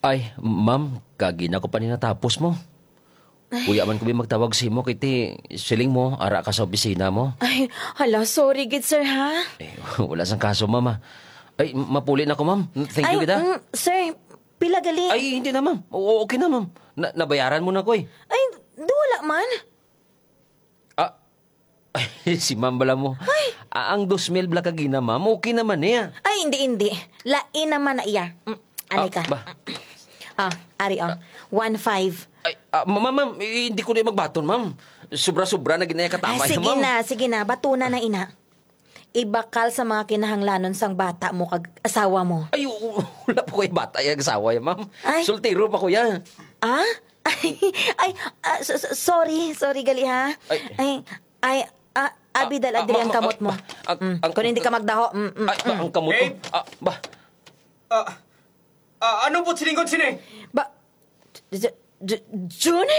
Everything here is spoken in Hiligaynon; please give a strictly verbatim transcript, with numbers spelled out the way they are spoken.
Ay, ma'am, kagina ko pa ni natapos mo. Kuya man ko bi magtawag sa imo, kay ti siling mo, ara ka sa opisina mo. Ay, hala, sorry gid, sir, ha? Eh, wala sang kaso, ma'am, ah. Ay, mapuli na ko, ma'am. Thank you Ay, kita. mm, sir, pila gali? Ay, hindi na, ma'am. O, okay na, ma'am. Na, nabayaran mo na ko, eh. Ay, di wala man. Ah, ay, si ma'am bala mo. Ay! Ah, ang dos mil bala kagina, ma'am, okay naman niya. Ay, hindi, hindi. Lain naman na iya. Mm, anay Ah, ka. ba? Ah, ari, oh. One five. Ay, ah, ma-, ma'am, ma'am, eh, hindi ko na magbaton, ma'am. Sobra-sobra na ginaya Ah, katamay, sige ma'am. na, sige na. Batuna na ina. Ibakal sa mga kinahanglanon sang bata mo kag asawa mo. Ay, u-, u-, wala pa ko yung bata, yung asawa, ya, ma'am. Ay. Soltero pa ko, ya. Ah? Ay, ay, ah, so-, so-, sorry, sorry gali ha. Ay. Ay, ay, ah, abi, Ah, dala ah, diri ma-, ang ma-, kamot mo. ah, ah, Mm. ang Kung hindi ka magdaho, mm, mm, Ay, ba, mm. ang kamot ko. Babe! Ah, ba? Ah, ah, ano po siningkod sini? Ba, J-, J-, June?